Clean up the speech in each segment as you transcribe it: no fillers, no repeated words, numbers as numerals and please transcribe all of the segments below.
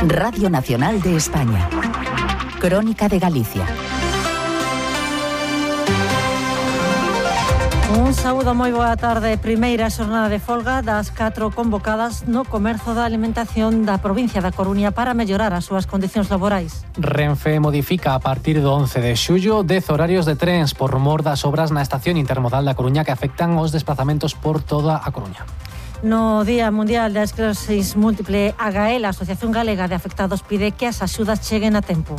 Radio Nacional de España. Crónica de Galicia. Un saúdo, moi boa tarde. Primeira xornada de folga das 4 convocadas no comerzo da alimentación da provincia da Coruña para mellorar as súas condicións laborais. Renfe modifica a partir do 11 de xullo 10 horarios de trens por mor das obras na estación intermodal da Coruña que afectan os desplazamentos por toda a Coruña. No Día Mundial da Esclerosis Múltiple, AGAEL, a Asociación Galega de Afectados, pide que as axudas cheguen a tempo.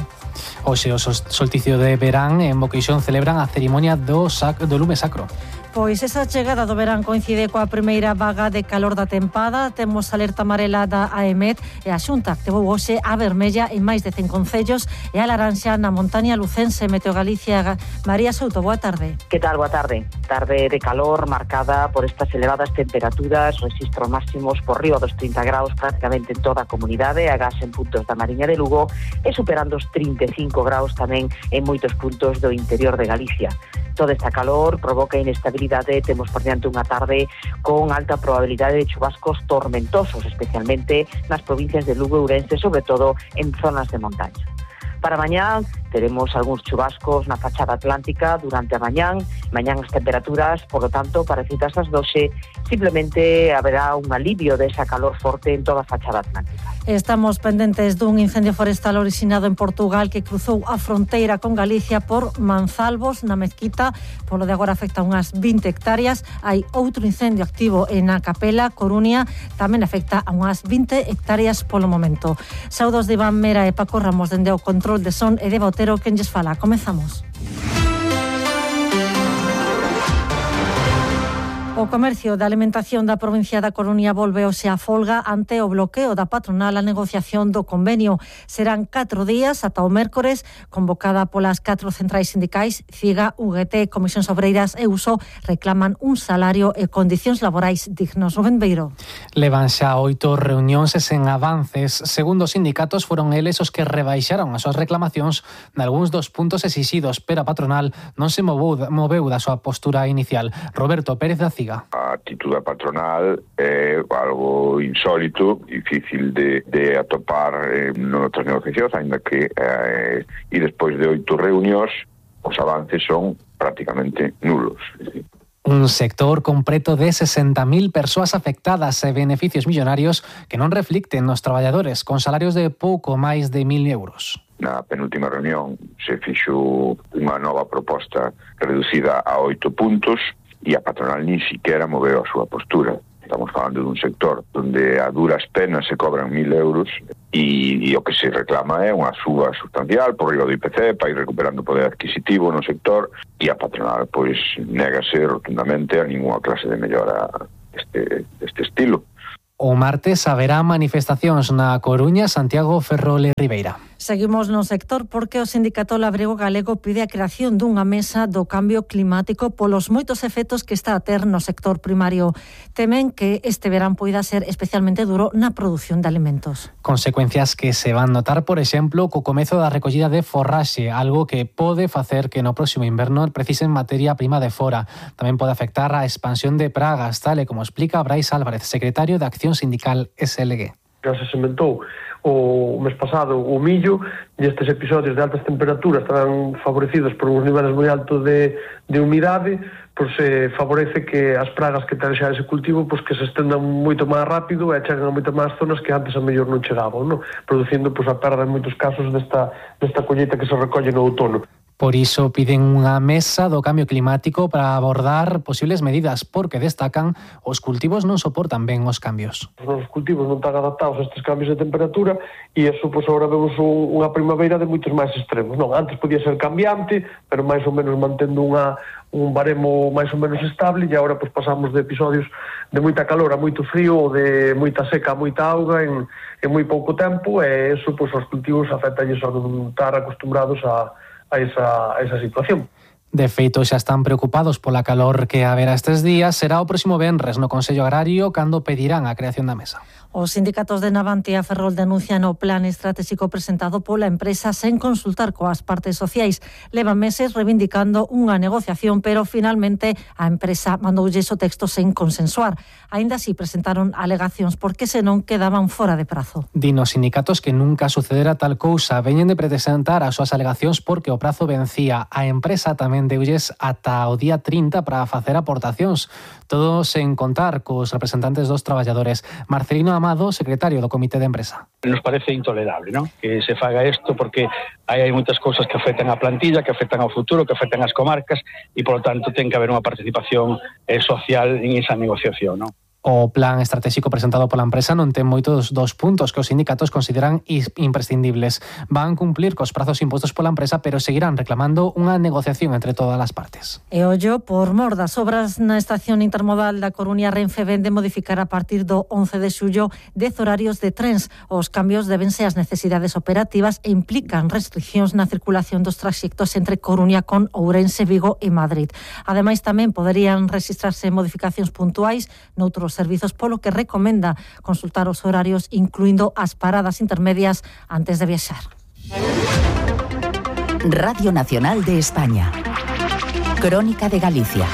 Hoxe o solsticio de verán en Boqueixón celebran a cerimonia do lume sacro. Pois esa chegada do verán coincide coa primeira vaga de calor da tempada. Temos alerta amarela da AEMET e a Xunta activou hoxe a vermella en máis de 100 concellos e a laranxa na montaña lucense. Meteo Galicia, María Souto, boa tarde. Que tal, boa tarde? Tarde de calor marcada por estas elevadas temperaturas, rexistros máximos por riba dos 30 graus prácticamente en toda a comunidade, agás en puntos da Mariña de Lugo e superando os 35 graus tamén en moitos puntos do interior de Galicia. Toda esta calor provoca inestabilidade, temos por diante unha tarde con alta probabilidade de chubascos tormentosos, especialmente nas provincias de Lugo e Ourense, sobre todo en zonas de montaña. Para mañán teremos algúns chubascos na fachada atlántica durante a mañán as temperaturas, por lo tanto, parecidas ás 12, simplemente haberá un alivio desa calor forte en toda a fachada atlántica. Estamos pendentes dun incendio forestal orixinado en Portugal que cruzou a fronteira con Galicia por Manzalvos, na Mezquita. Polo de agora afecta unhas 20 hectáreas. Hai outro incendio activo en a Capela, Coruña, tamén afecta a unhas 20 hectáreas polo momento. Saudos de Iván Mera e Paco Ramos dende o control de son e de Botero, quen lles fala. Comezamos. O comercio da alimentación da provincia da Coruña volve hoxe a folga ante o bloqueo da patronal a negociación do convenio. Serán 4 días ata o mércores, convocada polas 4 centrais sindicais. CIGA, UGT, Comisións Obreiras e USO reclaman un salario e condicións laborais dignos. Rubén Beiro. Levan xa 8 reunións e sen avances. Segundo os sindicatos, foron eles os que rebaixaron as súas reclamacións nalgúns dos puntos exixidos, pero a patronal non se moveu da súa postura inicial. Roberto Pérez da CIGA. A actitude patronal é algo insólito, difícil de atopar noutras negociacións, ainda que e despois de 8 reunións os avances son prácticamente nulos. Un sector con preto de 60.000 persoas afectadas e beneficios millonarios que non reflicten nos traballadores, con salarios de pouco máis de 1.000 euros. Na penúltima reunión se fixo unha nova proposta reducida a 8 puntos, e a patronal ni siquiera moveu a súa postura. Estamos falando dun sector onde a duras penas se cobran 1.000 euros e o que se reclama é unha suba sustancial por riba do IPC para ir recuperando poder adquisitivo no sector e a patronal pois négase rotundamente a ninguna clase de mellora deste estilo. O martes haberá manifestacións na Coruña, Santiago, Ferrol e Ribeira. Seguimos no sector porque o Sindicato Labrego Galego pide a creación dunha mesa do cambio climático polos moitos efectos que está a ter no sector primario. Temen que este verán poida ser especialmente duro na produción de alimentos. Consecuencias que se van notar, por exemplo, co comezo da recollida de forraxe, algo que pode facer que no próximo inverno precisen materia prima de fora. Tamén pode afectar a expansión de pragas, tal e como explica Brais Álvarez, secretario de Acción Sindical SLG. Já se sementou o mes pasado o millo e estes episodios de altas temperaturas estarán favorecidos por uns niveles moi altos de humidade, pois se favorece que as pragas que ten xa ese cultivo pois que se estendan moito máis rápido e cheguen a moitas máis zonas que antes a mellor non chegaban, non? Producindo pois a perda en moitos casos desta colleita que se recolle no outono. Por iso piden unha mesa do cambio climático para abordar posibles medidas, porque destacan os cultivos non soportan ben os cambios. Os cultivos non están adaptados a estes cambios de temperatura e iso, pois, agora vemos unha primavera de moitos máis extremos. Non, antes podía ser cambiante, pero máis ou menos mantendo un baremo máis ou menos estable e agora pois pasamos de episodios de moita calor a moito frío ou de moita seca a moita auga en moi pouco tempo e iso, pois, os cultivos afectalles a non estar acostumbrados a esa situación. De feito, xa están preocupados pola calor que haberá estes días. Será o próximo venres no Consello Agrario cando pedirán a creación da mesa. Os sindicatos de Navantia e Ferrol denuncian o plan estratégico presentado pola empresa sen consultar coas partes sociais. Levan meses reivindicando unha negociación, pero finalmente a empresa mandoulles o texto sen consensuar. Aínda así presentaron alegacións porque senón quedaban fora de prazo. Din os sindicatos que nunca sucedera tal cousa. Veñen de presentar as súas alegacións porque o prazo vencía. A empresa tamén deulles ata o día 30 para facer aportacións. Todo sen contar cos representantes dos traballadores. Marcelino Amado, secretario do Comité de Empresa. Nos parece intolerable, ¿no?, que se faga isto porque hai moitas cousas que afectan a plantilla, que afectan ao futuro, que afectan as comarcas e, polo tanto, ten que haber unha participación social en esa negociación, ¿no? O plan estratégico presentado pola empresa non ten moitos dos puntos que os sindicatos consideran imprescindibles. Van cumplir cos prazos impostos pola empresa, pero seguirán reclamando unha negociación entre todas as partes. E ollo, por mor das obras na estación intermodal da Coruña, Renfe vende modificar a partir do 11 de xullo 10 horarios de trens. Os cambios debense ás necesidades operativas e implican restriccións na circulación dos traxectos entre Coruña con Ourense, Vigo e Madrid. Ademais, tamén poderían registrarse modificacións puntuais noutros servizos, polo que recomenda consultar os horarios, incluindo as paradas intermedias antes de viaxar. Radio Nacional de España. Crónica de Galicia.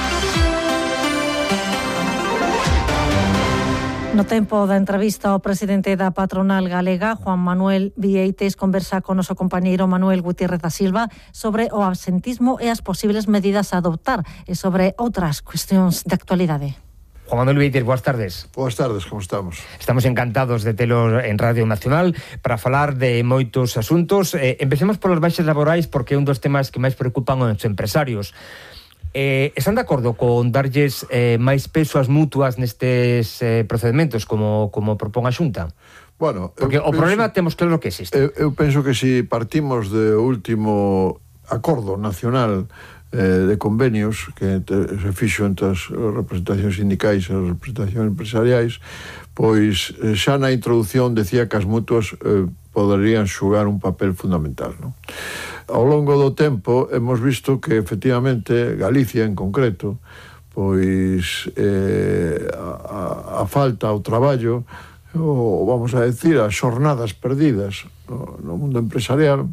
No tempo da entrevista, o presidente da patronal galega, Juan Manuel Vieites, conversa con o noso compañeiro Manuel Gutiérrez da Silva sobre o absentismo e as posibles medidas a adoptar e sobre outras cuestións de actualidade. Juan Manuel Vieites, boas tardes. Boas tardes, como estamos? Estamos encantados de telo en Radio Nacional para falar de moitos asuntos. Empecemos polas baixas laborais porque é un dos temas que máis preocupan aos empresarios. Están de acordo con darlles máis peso ás mutuas nestes procedementos como propón a Xunta? Bueno, porque o problema temos claro que existe. Eu penso que se partimos do último acordo nacional de convenios que se fixo entre as representacións sindicais e as representacións empresariais, pois xa na introducción decía que as mutuas poderían xogar un papel fundamental, non? Ao longo do tempo hemos visto que efectivamente Galicia en concreto, pois a falta ao traballo, ou vamos a decir as xornadas perdidas no mundo empresarial,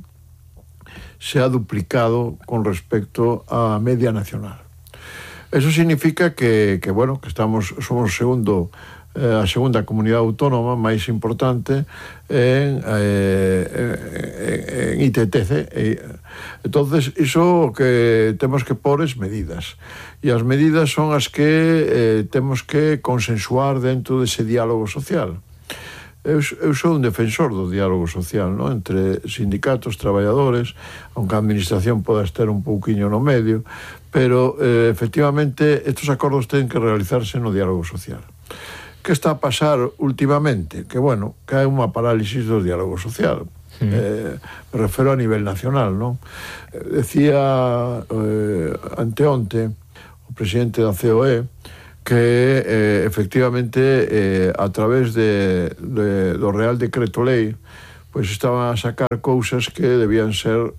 se ha duplicado con respecto á media nacional. Eso significa que bueno, que somos a segunda comunidade autónoma máis importante en ITTC. Entonces, iso que temos que pôr es medidas. E as medidas son as que temos que consensuar dentro dese diálogo social. Eu sou un defensor do diálogo social, ¿no?, entre sindicatos, traballadores, aunque a administración poda estar un pouquiño no medio, pero efectivamente estos acordos ten que realizarse no diálogo social. Que está a pasar últimamente? Que, bueno, que hai unha parálisis do diálogo social. Me refero a nivel nacional, ¿no? Decía anteonte o presidente da COE que efectivamente a través do Real Decreto Lei pois estaban a sacar cousas que debían ser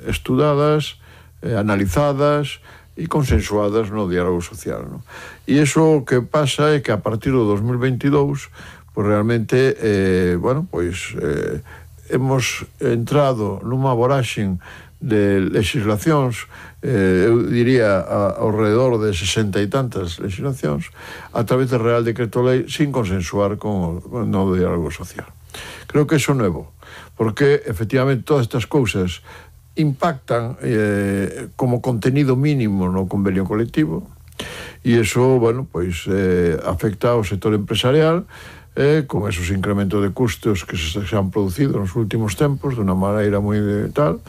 estudadas, analizadas e consensuadas no diálogo social, ¿no? E iso que pasa é que a partir do 2022 pois realmente hemos entrado nunha voraxen de legislacións, eu diría ao redor de 60 e tantas legislacións, a través do Real Decreto Lei sin consensuar con o diálogo social. Creo que iso é novo, porque efectivamente todas estas cousas impactan como contenido mínimo no convenio colectivo e iso, bueno, pois afecta ao sector empresarial con esos incrementos de custos que se han producido nos últimos tempos de unha maneira moi tal.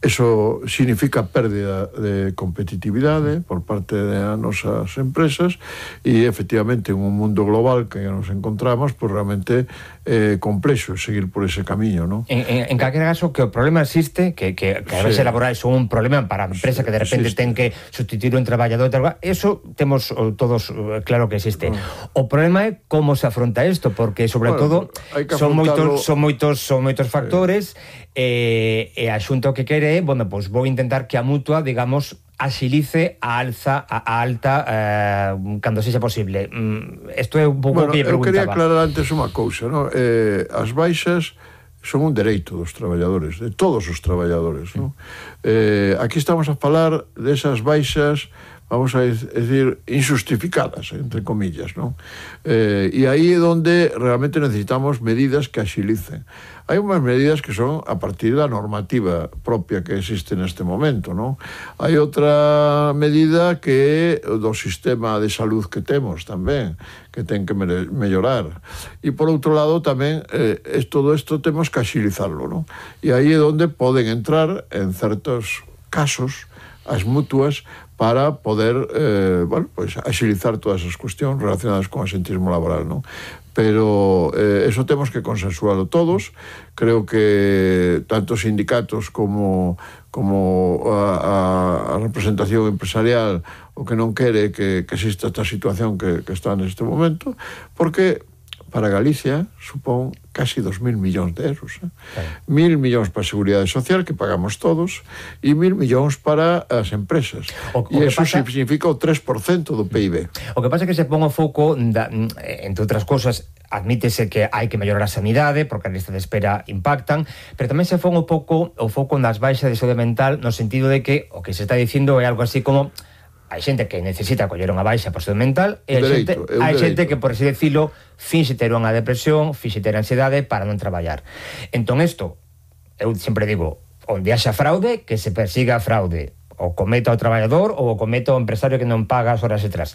Eso significa pérdida de competitividade por parte das nosas empresas e, efectivamente, en un mundo global que nos encontramos, pues realmente complexo seguir por ese camiño, ¿no? En calquera caso, que o problema existe, que a veces laborais son un problema para a empresa que de repente ten que sustituir un traballador, eso temos todos claro que existe. O problema é como se afronta isto, porque sobre todo son moitos factores e a Xunta o que quere, bueno, pois vou intentar que a mutua, digamos, axilice a alta cando sexa posible. Isto é un pouco que lle preguntaba. Eu quería aclarar antes unha cousa, non? As baixas son un dereito dos traballadores, de todos os traballadores, non? Aquí estamos a falar desas baixas, vamos a decir, injustificadas, entre comillas, non? E aí é onde realmente necesitamos medidas que axilicen. Hai unhas medidas que son a partir da normativa propia que existe neste momento, non? Hai outra medida que é do sistema de salud que temos tamén, que ten que mellorar. E por outro lado tamén todo isto temos que axilizarlo, non? E aí é onde poden entrar en certos casos as mutuas para poder axilizar todas as cuestións relacionadas con o asentismo laboral, non? Pero eso temos que consensualo todos. Creo que tanto sindicatos como a representación empresarial o que non quere que exista esta situación que está neste momento, porque para Galicia supón casi 2.000 millóns de euros. 1.000 millóns para a Seguridade Social, que pagamos todos, e 1.000 millóns para as empresas. E iso significa o 3% do PIB. O que pasa é que se pon o foco, entre outras cosas, admítese que hai que mellorar a sanidade, porque as listas de espera impactan, pero tamén se pon o foco nas baixas de saúde mental, no sentido de que o que se está dicindo é algo así como hai xente que necesita coller unha baixa por saúde mental e hai xente que, por así decirlo, finxe ter unha depresión, finxe ter ansiedade para non traballar. Entón isto, eu sempre digo, onde haxa fraude, que se persiga a fraude, o cometa o traballador ou o cometa o empresario que non paga as horas extras.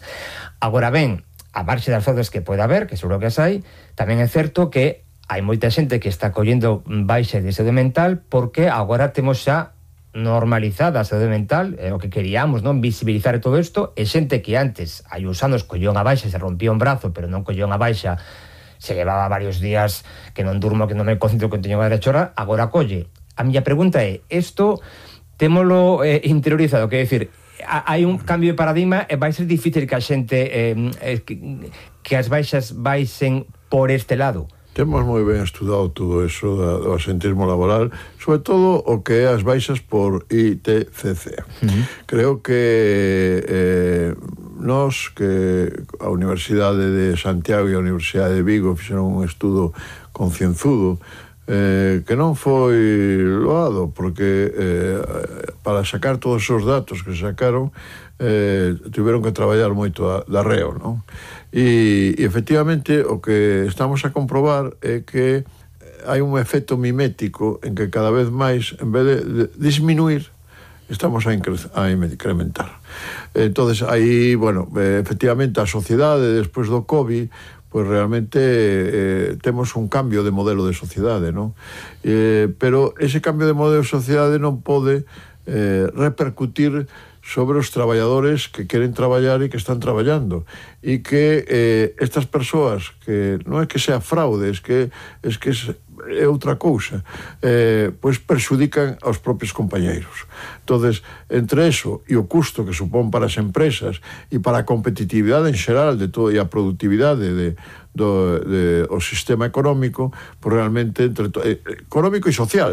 Agora ben, a marxe das fraudes que pode haber, que seguro que as hai, tamén é certo que hai moita xente que está collendo baixa de saúde mental porque agora temos xa normalizada a saúde mental, o que queríamos, non, visibilizar todo isto, e xente que antes, hai uns anos, colleu unha baixa, se rompía un brazo, pero non colleu unha baixa, se levaba varios días que non durmo, que non me concentro, que teño que chorar, agora colle. A miña pregunta é, isto témolo interiorizado, que é dicir, hai un cambio de paradigma e vai ser difícil que a xente que as baixas baixen por este lado? Temos moi ben estudado todo eso do asentismo laboral, sobre todo o que é as baixas por ITCC. Creo que nós, que a Universidade de Santiago e a Universidade de Vigo fixeron un estudo concienzudo, que non foi loado, porque para sacar todos os datos que sacaron tiveron que traballar moito de arreo, non? E efectivamente o que estamos a comprobar é que hai un efecto mimético en que cada vez máis, en vez de disminuir, estamos a incrementar. Entonces aí, bueno, efectivamente a sociedade despois do COVID, pois realmente temos un cambio de modelo de sociedade, non? Pero ese cambio de modelo de sociedade non pode repercutir sobre os traballadores que queren traballar e que están traballando, e que estas persoas, que non é que sea fraude, é que é outra cousa, pois perxudican aos propios compañeiros. Entonces, entre eso e o custo que supón para as empresas e para a competitividade en xeral de todo e a productividade do sistema económico, pois realmente económico e social,